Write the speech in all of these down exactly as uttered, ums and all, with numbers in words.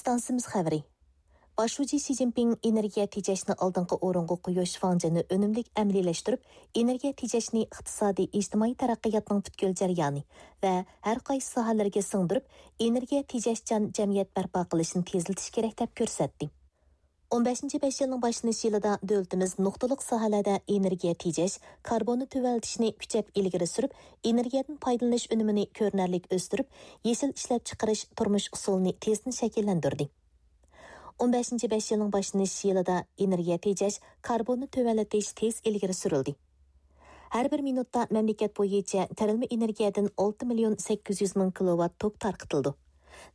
ئىستانسىمىز خەۋىرى. باش شۇجى شى جىنپىڭ ئېنېرگىيە تېجەشنى ئالدىنقى ئورۇنغا قويۇش فاڭجېنى ئۈنۈملۈك ئەمەلىيلەشتۈرۈپ، ئېنېرگىيە تېجەشنى ئىقتىسادىي، ئىجتىمائىي تەرەققىياتنىڭ پۈتكۈل جەريانى ۋە ھەر قايسى ساھەلەرگە سىڭدۈرۈپ، ئېنېرگىيە تېجەشچان جەمئىيەت بەرپا قىلىشنى تېزلىتىش كېرەك، دەپ كۆرسەتتى. ئون بەشىنچى بەش يىلنىڭ باشلىنىش يىلىدا دۆلىتىمىز نۇقتىلىق ساھەلەردە ئېنېرگىيە تېجەش، كاربوننى تۆۋەنلىتىشنى كۈچەپ ئىلگىرى سۈرۈپ، ئېنېرگىيەدىن پايدىلىنىش ئۈنۈمىنى كۆرۈنەرلىك ئۆستۈرۈپ، يېشىل ئىشلەپچىقىرىش تۇرمۇش ئۇسۇلىنى تېزدىن شەكىللەندۈردى. ئون بەشىنچى بەش يىلنىڭ باشلىنىش يىلىدا ئېنېرگىيە تېجەش، كاربوننى تۆۋەنلىتىش تېز ئىلگىرى سۈرۈلدى. ھەر بىر مىنۇتتا مەملىكەت بويىچە تېرىلمە ئېنېرگىيەدىن ئالتە مىليون سەككىز يۈز مىڭ كىلوۋات توك تارقىتىلىدۇ.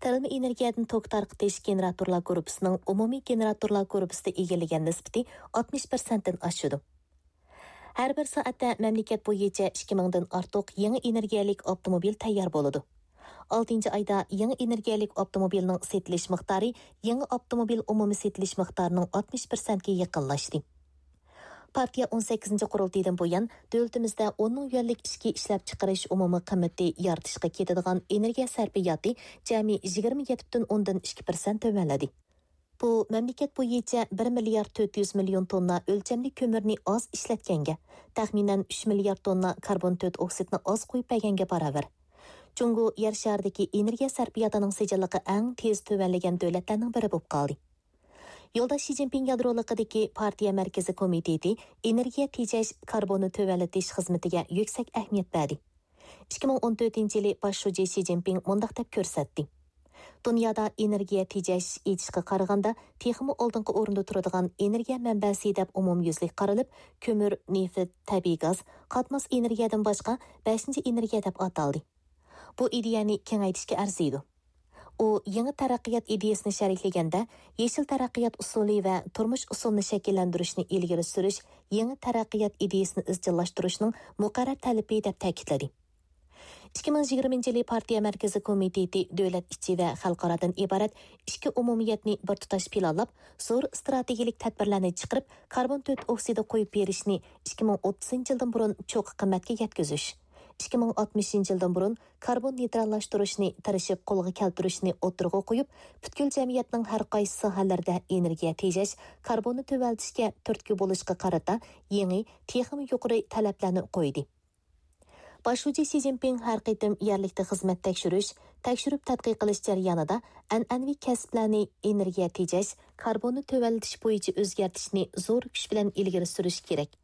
تېرىلمە ئېنېرگىيەدىن توك تارقىتىش گېنېراتورلار گۇرۇپپىسىنىڭ ئومۇمىي گېنېراتورلار گۇرۇپپىسىدا ئىگىلىگەن نىسبىتى ئاتمىش پىرسەنتتىن ئاشىدۇ. ھەر بىر سائەتتە مەملىكەت بويىچە ئىككى مىڭدىن ئارتۇق يېڭى ئېنېرگىيەلىك ئاپتوموبىل تەييار بولىدۇ. ئالتىنچى ئايدا يېڭى ئېنېرگىيەلىك ئاپتوموبىلنىڭ سېتىلىش مىقدارى يېڭى ئاپتوموبىل ئومۇمىي سېتىلىش مىقدارىنىڭ ئاتمىش پىرسەنتكە يېقىنلاشتى. پارتىيە ئون سەككىزىنچى قۇرۇلتىيىدىن بۇيان، دۆلىتىمىزدە ئون مىڭ يۈەنلىك ئىچكى ئىشلەپچىقىرىش ئومۇمىي قىممىتى يارىتىشقا كېتىدىغان ئېنېرگىيە سەرپىياتى جەمئىي يىگىرمە يەتتە پۈتۈن ئوندىن ئىككى پىرسەنت تۆۋەنلىدى. بۇ مەملىكەت بويىچە بىر مىليارد تۆت يۈز مىليون توننا ئۆلچەملىك كۆمۈرنى ئاز ئىشلەتكەنگە، تەخمىنەن ئۈچ مىليارد توننا كاربون تۆت ئوكسىدنى ئاز قويۇپ بەرگەنگە باراۋەر. جۇڭگو يەر شارىدىكى ئېنېرگىيە سەرپىياتىنىڭ سىجىللىقى ئەڭ تېز تۆۋەنلىگەن دۆلەتلەرنىڭ بىرى بولۇپ قالدى. يولداش شى جىنپىڭ يادرولۇقىدىكى پارتىيە مەركىزىي كومىتېتى ئېنېرگىيە تېجەش، كاربوننى تۆۋەنلىتىش خىزمىتىگە يۈكسەك ئەھمىيەت بەردى. ئىككى مىڭ ئون تۆتىنچى يىلى باش شۇجى شى جىنپىڭ مۇنداق دەپ كۆرسەتتى: دۇنيادا ئېنېرگىيە تېجەش ئېيتىشقا قارىغاندا، تېخىمۇ ئالدىنقى ئورۇندا تۇرىدىغان ئېنېرگىيە مەنبەسى دەپ ئومۇميۈزلۈك قارىلىپ، كۆمۈر، نېفىت، تەبىئىي گاز، قاتماس ئېنېرگىيەدىن باشقا بەشىنچى ئېنېرگىيە دەپ ئاتالدى. بۇ ئىدىيەنى كېڭەيتىشكە ئەرزىيدۇ. ئۇ يېڭى تەرەققىيات ئىدىيەسىنى شەرھلىگەندە، يېشىل تەرەققىيات ئۇسۇلى ۋە تۇرمۇش ئۇسۇلىنى شەكىللەندۈرۈشنى ئىلگىرى سۈرۈش يېڭى تەرەققىيات ئىدىيەسىنى ئىزچىللاشتۇرۇشنىڭ مۇقەررەر تەلىپى، دەپ تەكىتلىدى. ئىككى مىڭ يىگىرمىنچى يىلى پارتىيە مەركىزىي كومىتېتى دۆلەت ئىچى ۋە خەلقئارادىن ئىبارەت ئىككى ئومۇمىيەتنى بىر تۇتاش پىلانلاپ، زور ئىستراتېگىيەلىك تەدبىرلەرنى چىقىرىپ، كاربون تۆت ئوكسىدى قويۇپ بېرىشنى ئىككى مىڭ ئوتتۇزىنچى يىلدىن بۇرۇن چوققا قىممەتكە يەتكۈزۈش، ئىككى مىڭ ئاتمىشىنچى يىلدىن بۇرۇن كاربون نېيتراللاشتۇرۇشنى تىرىشىپ قولغا كەلتۈرۈشنى ئوتتۇرىغا قويۇپ، پۈتكۈل جەمئىيەتنىڭ ھەر قايسى ساھەلىرىدە ئېنېرگىيە تېجەش، كاربوننى تۆۋەنلىتىشكە تۈرتكە بولۇشقا قارىتا يېڭى، تېخىمۇ يۇقىرى تەلەپلەرنى قويدى. باش شۇجى شى جىنپىڭ ھەر قېتىم يەرلىكتە خىزمەت تەكشۈرۈش، تەكشۈرۈپ تەتقىق قىلىش جەريانىدا ئەنئەنىۋى كەسىپلەرنى ئېنېرگىيە تېجەش، كاربوننى تۆۋەنلىتىش بويىچە ئۆزگەرتىشنى زور كۈچ بىلەن ئىلگىرى سۈرۈش كېرەك.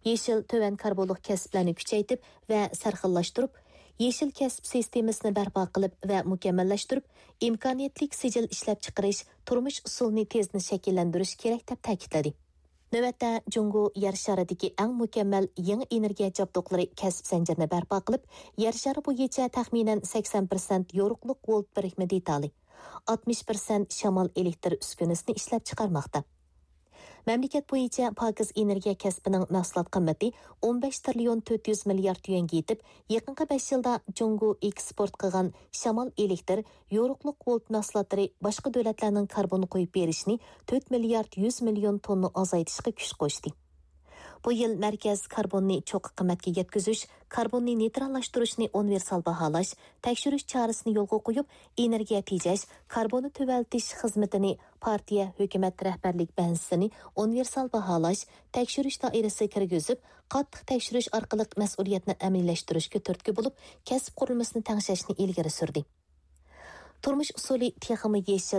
يېشىل تۆۋەن كاربونلۇق كەسىپلەرنى كۈچەيتىپ ۋە سەرخىللاشتۇرۇپ، يېشىل كەسىپ سىستېمىسىنى بەرپا قىلىپ ۋە مۇكەممەللەشتۈرۈپ، ئىمكانىيەتلىك سىجىل ئىشلەپچىقىرىش، تۇرمۇش ئۇسۇلىنى تېزدىن شەكىللەندۈرۈش كېرەك، دەپ تەكىتلىدى. نۆۋەتتە، جۇڭگو يەر شارىدىكى ئەڭ مۇكەممەل يېڭى ئېنېرگىيە جابدۇقلىرى كەسىپ زەنجىرىنى بەرپا قىلىپ، يەر شارى بويىچە تەخمىنەن سەكسەن پىرسەنت يورۇقلۇق ۋولت بىرىكمە دېتالى، ئاتمىش پىرسەنت شامال ئېلېكتر ئۈسكۈنىسىنى ئىشلەپچىقارماقتا. مەملىكەت بويىچە پاكىز ئېنېرگىيە كەسپىنىڭ مەھسۇلات قىممىتى ئون بەش تىرىليون تۆت يۈز مىليارد يۈەنگە يېتىپ، يېقىنقى بەش يىلدا جۇڭگو ئېكسپورت قىلغان شامال ئېلېكتر، يورۇقلۇق ۋولت مەھسۇلاتلىرى باشقا دۆلەتلەرنىڭ كاربون قويۇپ بېرىشىنى تۆت مىليارد يۈز مىليون توننا ئازايتىشقا كۈچ قوشتى. بۇ يىل مەركەز كاربوننى چوققا قىممەتكە يەتكۈزۈش، كاربوننى نېيتراللاشتۇرۇشنى ئۇنىۋېرسال باھالاش، تەكشۈرۈش چارىسىنى يولغا قويۇپ، ئېنېرگىيە تېجەش، كاربوننى تۆۋەنلىتىش خىزمىتىنى، پارتىيە، ھۆكۈمەت رەھبەرلىك بەنزىسىنى ئۇنىۋېرسال باھالاش، تەكشۈرۈش دائىرىسىگە كىرگۈزۈپ، قاتتىق تەكشۈرۈش ئارقىلىق مەسئۇلىيەتنى ئەمەلىيلەشتۈرۈشكە تۈرتكە بولۇپ، كەسىپ قۇرۇلمىسىنى تەڭشەشنى ئىلگىرى سۈردى. تۇرمۇش ئۇسۇلى تېخىمۇ يېشىل،